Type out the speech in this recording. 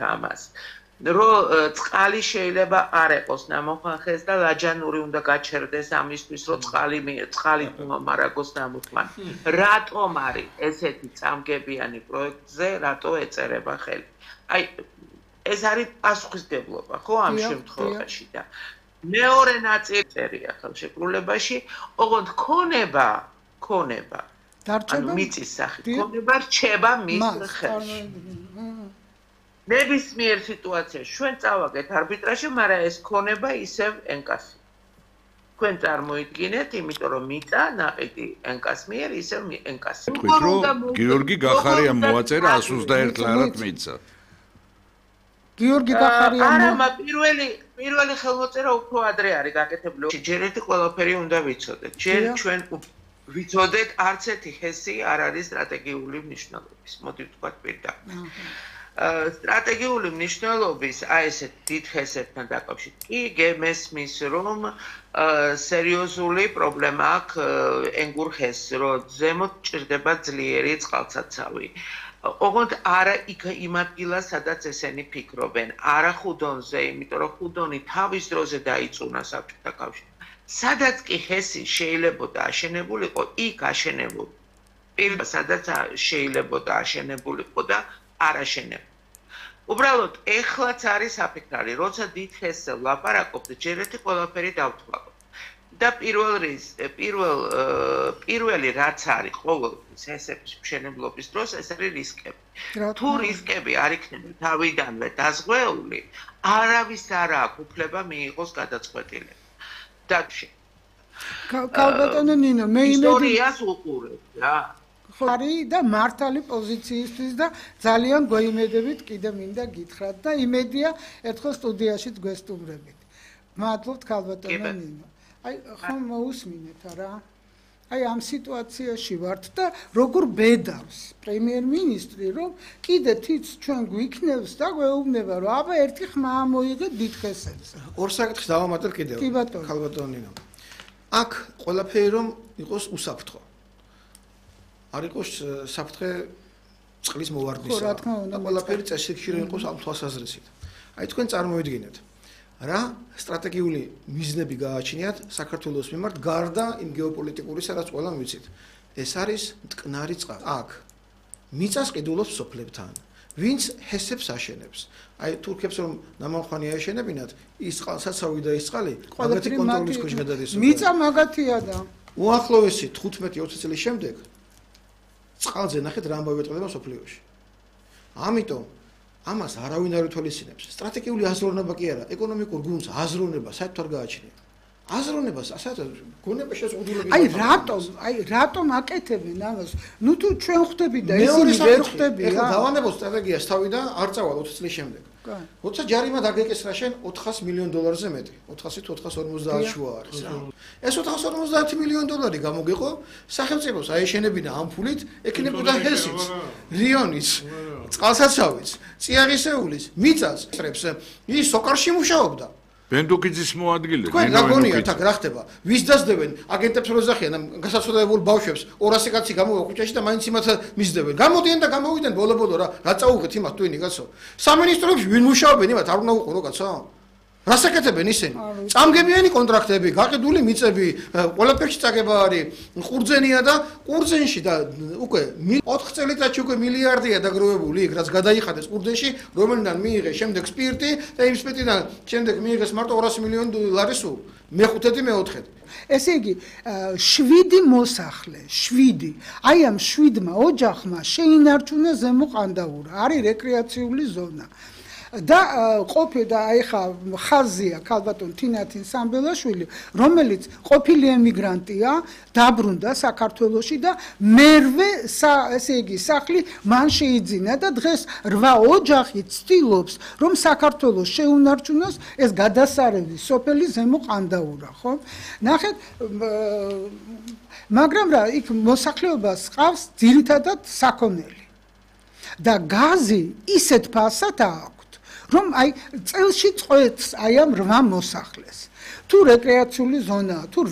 ამას. Რომ წყალი შეიძლება არ ეყოს ნამოხანხეს და ლაჯანური უნდა გაჩერდეს ამისთვის, რომ წყალი მარაგოს ნამოხან. რატომ არის ესეთი წამგებიანი პროექტზე, რატო ეწერება ხელი? აი, ეს არის პასუხისმგებლობა, ხო, ამ შემთხვევაში და მეორე ნაწილი წერია ხელშეკრულებაში, ოღონდ ქონება ანუ მიწის სახით ქონება რჩება მის ხელში. ნებისმიერ სიტუაციაში ჩვენ წავაგეთ არბიტრაჟში, მაგრამ ეს ქონება ისევ ენკასი. თქვენ წარმოიდგინეთ, იმიტომ რომ მიწა ნაყიდი ენკას მიერ ისევ ენკასი. თქვით რომ გიორგი გახარიამ მოაწერა 121 ლარად მიწა. გიორგი გახარიამ არა, პირველი ხელმოწერა უფრო ადრე არის გაკეთებული. ჯერ ერთი ყველაფერი უნდა ვიცოდეთ. ჯერ ჩვენ ვიცოდეთ, არც ერთი ჰესი არ არის სტრატეგიული მნიშვნელობის. მოდი ვთქვათ პირდაპირ. სტრატეგიული მნიშვნელობის აი ესეთ დიდ ჰესებთან დაკავშირებით კი მესმის რომ სერიოზული პრობლემა აქვს ენგურ ჰესს, რომ ზემოთ ჭირდება ძლიერი წყალსაცავი. ოღონდ არა იმ ადგილას, სადაც ესენი ფიქრობენ, არა ხუდონზე, იმიტომ რომ ხუდონი თავის დროზე დაიწუნა საბჭოთა კავშირში. სადაც კი ჰესი შეიძლებოდა აშენებულიყო, იქ აშენებულ. პირველ სადაც შეიძლებოდა აშენებულიყო და არ აშენებდა. უბრალოდ ეხლაც არის საფიქრალი, როცა დიდ ჰესზე ვლაპარაკობთ, ჯერ ერთი ყველაფერი დავთვალოთ. და პირველი რაც არის ყოველთვის ჰესების მშენებლობის დროს, ეს არის რისკები. თუ რისკები არ იქნება თავიდანვე დაზღვეული, არავის არ აქვს უფლება მიიღოს გადაწყვეტილება. და ქალბატონო ნინო, მე ისტორიას უყურებ რა. ხარი და მართალი პოზიციისთვის და ძალიან გვეიმედებით კიდე მინდა გითხრათ და იმედია ერთხელ სტუდიაში გვესტუმრებით. მადლობთ ქალბატონო ნინო. აი ხომ მოусმინეთ რა? აი ამ სიტუაციაში ვართ და როგორ ბედავს პრემიერ-მინისტრი, რომ კიდე თიც ჩვენ გვიქნევს და გვეუბნება, რომ აბა ერთი ხმა მოიღეთ დიდ ჰესებზე. ორ საკითხს დავამატებ კიდევ ქალბატონო ნინო. აქ ყველაფერი რომ იყოს უსაფრთხო. არ იყოს საფრთხე წყლის მოვარდნისა. და ყველაფერი წესრიგში რომ იყოს ამ თვალსაზრისით. აი თქვენ წარმოიდგინეთ, რა სტრატეგიული მიზნები გააჩნიათ საქართველოს მიმართ გარდა იმ გეოპოლიტიკურისა, რაც ყველამ ვიცით. ეს არის მტკნარი წყალი. აქ მიწას ყიდულობს სოფლებთან. ვინც ჰესებს აშენებს. აი თურქებს რომ ნამამხანი აეშენებინათ, ის წყალსაცავი და ის წყალი მაგათი კონტროლის ქვეშ გადადის. მიწა მაგათია და უახლოესი 15-20 წლის შემდეგ წყალზე ნახეთ რა ამბავი ეწყდება სოფლიოში. ამიტომ ამას არავინ არ ითვალისწინებს. სტრატეგიული აზროვნება კი არა, ეკონომიკურ გუნდს აზროვნება საერთოდ არ გააჩნია. აზროვნებას საერთოდ გონება შეზღუდულები. აი რატომ აკეთებენ ამას? ნუ თუ ჩვენ ხვდები და ისინი ვერ ხვდები რა. ეხლა დავანებოთ სტრატეგიას თავიდან არ წავალ 20 წლის შემდეგ. როცა ჯარიმა დაგეკისრა შენ 400 მილიონ დოლარზე მეტი, 400 თუ 450 შუა არის რა. ეს 450 მილიონ დოლარი გამოგიყო სახელმწიფოს აეშენებინა ამ ფულით, ეკნებოდა ჰესიც, რიონის, წყალსაცავის, წიაღისეულის, მიწას, ის სოკარში მუშაობდა. ბენდუკიძის მოადგილე. თქვენ გაგონიათ აქ რა ხდება? ვის დასდებენ? აგენტებს რო ზახიან ამ გასაცოდებულ ბავშვებს 200 კაცი გამოვა ქუჩაში და მაინც იმათ მისდევენ. გამოდიან და გამოვიდნენ ბოლო-ბოლო რა წაუღეთ იმათ ტვინი კაცო. სამინისტროებში ვინ მუშაობენ იმათ არ უნდა უყურო კაცო? რას აკეთებენ ისინი? წამგებიანი კონტრაქტები, გაყიდული მიწები, ყველაფერში წაგება არის. ყურძენია და ყურძენში და უკვე 4 წელიწადში უკვე მილიარდია დაგროვებული იქ, რაც გადაიხადეს ყურძენში, რომელიდან მიიღეს შემდეგ სპირტი და იმ სპირტიდან შემდეგ მიიღეს მარტო 200 მილიონი დოლარი სულ. მეხუთედი, მეოთხედი. ესე იგი 7 მოსახლე, 7. აი ამ 7-მა ოჯახმა შეინარჩუნა ზემო ყანდაურა, არის რეკრეაციული ზონა. და ყოფილი აი ხა ხაზია ქალბატონ თინათინ სამბელაშვილი, რომელიც ყოფილი ემიგრანტია, დაბრუნდა საქართველოში და მერვე ესე იგი სახლი მან შეიძინა და დღეს 8 ოჯახი ცდილობს, რომ საქართველოს შეუნარჩუნოს ეს გადასარევი სოფელი ზემო ყანდაურა, ხო? ნახეთ, მაგრამ რა იქ მოსახლეობას ყავს ძირითადად საქონელი. და გაზი ისეთ ფასად აქვს რომ აი წელში წვეთს აი ამ 8 მოსახლეს. თუ რეკრეაციული ზონაა, თუ